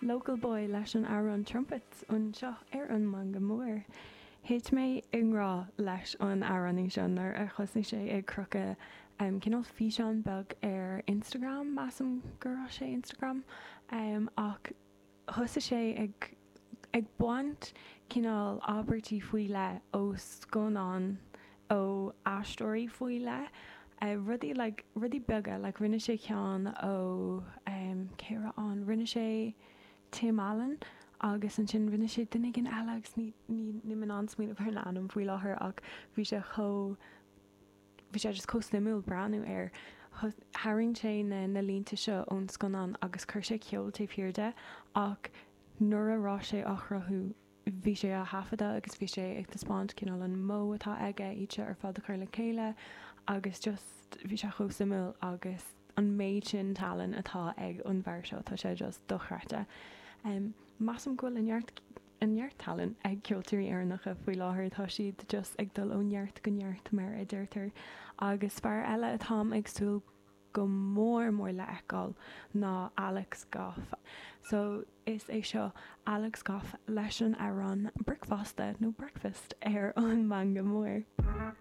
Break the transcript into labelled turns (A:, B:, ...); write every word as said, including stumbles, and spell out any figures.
A: Local Boy leis an amhrán Trumpets anseo ar an Meangadh Mór. Thit mé i ngrá leis an amhránaí seo nuair a thosaigh sé ag crochadh cineál físeán beag ar Instagram, measaim go raibh sé Instagram, ach thosaigh sé ag ag baint cineál abairtí faoi leith ó scannáin ó aisteoirí faoi leith, rudaí like rudaí beaga like rinne sé ceann ó cé raibh ann, rinne sé Tim Allen agus ansin rinne sé duine éigin eile agus ní ní níl mé in ann smaoineamh ar an ainm faoi láthair ach bhí sé chomh bhí sé just chomh suimiúil breathnú air. Tharraing sé na na línte seo ón scannán agus chuir sé ceol taobh thiar de ach nuair a raibh sé á chruthú bhí sé á thaifeadadh agus bhí sé ag taispeáint cineál an modh atá aige iad seo ar fad a chur le chéile agus just bhí sé chomh suimiúil agus an méid sin tallann atá ag an bhfear seo tá sé just dochreidte. Measaim go bhfuil neart neart tallann ag ceoltóirí Éireannacha faoi láthair tá siad just ag dul ó neart go neart mar a deirtear agus fear eile atáim ag súil go mór mór le feiceáil ná Alex Goff. So is é seo Alex Goff leis an amhrán Bricfeasta nó Breakfast ar an Meangadh Mór.